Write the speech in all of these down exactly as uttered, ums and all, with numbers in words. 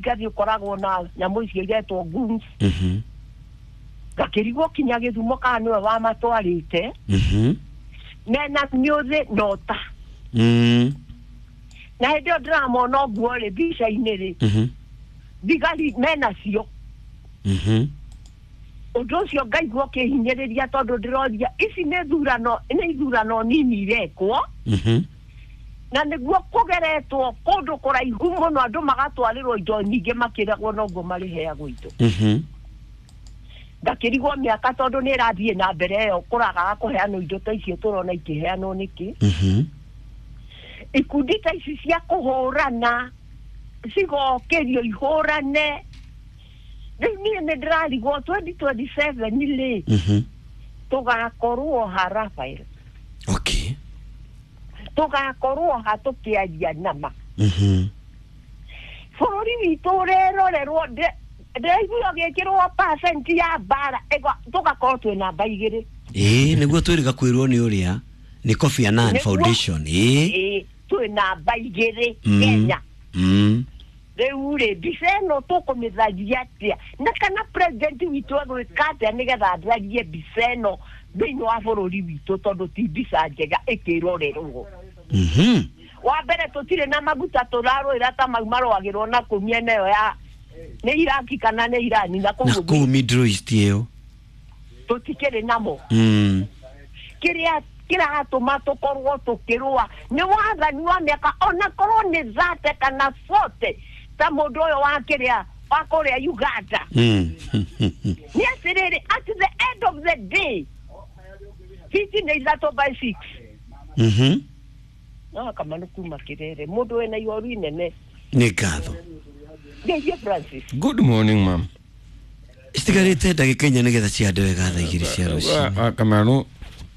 Ngathiĩ ũkoragwo na nyamũ icio iretwo goons. Mhm. Ngakĩrigwo kinya Gĩthumo kana nĩwe wamatwarĩte. Mhm. Mena mĩũthĩ na ũta. Mm. Na hĩndĩ ĩyo ndĩramona ũguo rĩ, mbica-inĩ rĩ, Mhm. thigari menacio. Mhm. Ũndũ ũcio ngaigua ũkĩhinyĩrĩria, tondũ ndĩroria ici nĩ thurano, nĩ ithurano nini irekwo, Mhm. na nĩguo kũgeretwo kũndũ kũraihu mũno, andũ magatwarĩrwo indo nyingĩ, makĩragwo noguo marĩheagwo indo. Mhm. Ngakĩrigwo mĩaka tondũ nĩ ĩrathiĩ na mbere ĩyo kũragaga kũheanwo indo ta icio tũrona ikĩheanwo nĩkĩ. Mhm. Ikundi ta ici cia kũhũrana cigokĩrio ihũrane. Rĩu niĩ nĩ ndĩrarigwo twenty twenty-seven rĩ, Mhm. tũgakorwo ha, Rafael? Okay. Tũgakorwo ha tũkĩaria nama? Mhm. Bũrũri witũ ũrerorerwo, ndĩraigua gĩkĩrwo percent ya mbara ĩga- tũgakorwo twĩ namba igĩrĩ. Ĩĩ, nĩguo twĩrĩga kwĩrwo nĩ ũrĩa nĩ Kofi Annan Nĩguo. Foundation. Ĩĩ. Ĩĩ, twĩ namba igĩrĩ Mm. Kenya. Mm. Rĩu rĩ, mbica ĩno tũkũmĩtharia atĩa, na kana president witũ egwĩka atĩa nĩgetha atharie mbica ĩno thĩinĩ wa bũrũri witũ, tondũ ti mbica njega ĩkĩrorerwo? Mhm. Wa mbere, tũtirĩ na maguta, tũrarũĩra ta mau marũagĩrwo na kũu mĩena ĩyo ya nĩ Iraki kana nĩ Irani na na kũu. Kũu Middle East ĩyo. Tũtikĩrĩ namo. Mm. Kĩrĩa kĩratũma tũkorwo tũkĩrũa nĩ wathani wa mĩaka, ona korwo nĩ thate kana bote, ta mũndũ ũyũ wa kĩrĩa wa kũrĩa Uganda. Mm. Nĩ atĩrĩrĩ, at the end of the day, fiti nĩ ithatũ by six. Mhm. No kamanu kuma Kĩrere, mũndũ wĩna ihoru inene. Nĩ ngatho. Ngeithie Francis. Good morning, ma'am. Citigarĩte ndagĩka inya nĩgetha ciande wega thaa igĩrĩ cia rũcinĩ. Wa Kamanu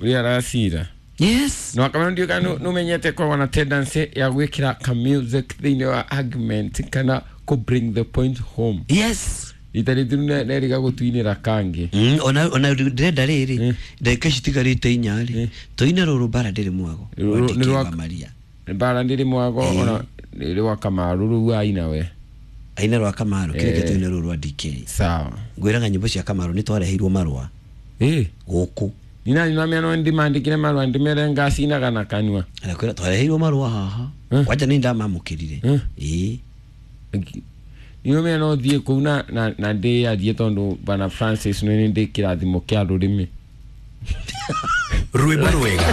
ũrĩa aracira. Yes. No Kamanu, ndiũka nũmenyete korwo na tendency ya gwĩkĩra ka music thĩinĩ wa argument kana kũ bring the point home. Yes. Rita rĩthiru neriga gũtuinĩra kangĩ. Mm, ona ona ndĩrenda rĩrĩ, Mm. ndagĩka ici itigarĩte inya rĩ, Mm. tũine rũrũ mbara ndĩrĩ mwago. Rũrũ- wa nĩ D K rwa- wa Maria. Mbara ndĩrĩ mwago. Eh. Ona nĩ rwa Kamaru rũu aina we. Aina rwa Kamaru kĩrĩa Eh. tũine rũrũ rwa D K. Sawa. Ngwĩraga nyĩmbo cia Kamaru nĩ twareheirwo marũa ĩ gũkũ. Nina nina no ndimandĩkire marũa ndĩmere ngacinaga na kanua. Arakwĩra twareheirwo marũa haha. Eh. Kwanja nĩ ndamamũkĩrire. Eh. Ĩĩ. Nĩũmenya no thiĩ kũu na na na ndĩyarie tondũ bana Francis nĩ ndĩ kĩrathimo kĩa rũrĩmĩ. Rwĩmbo rwega.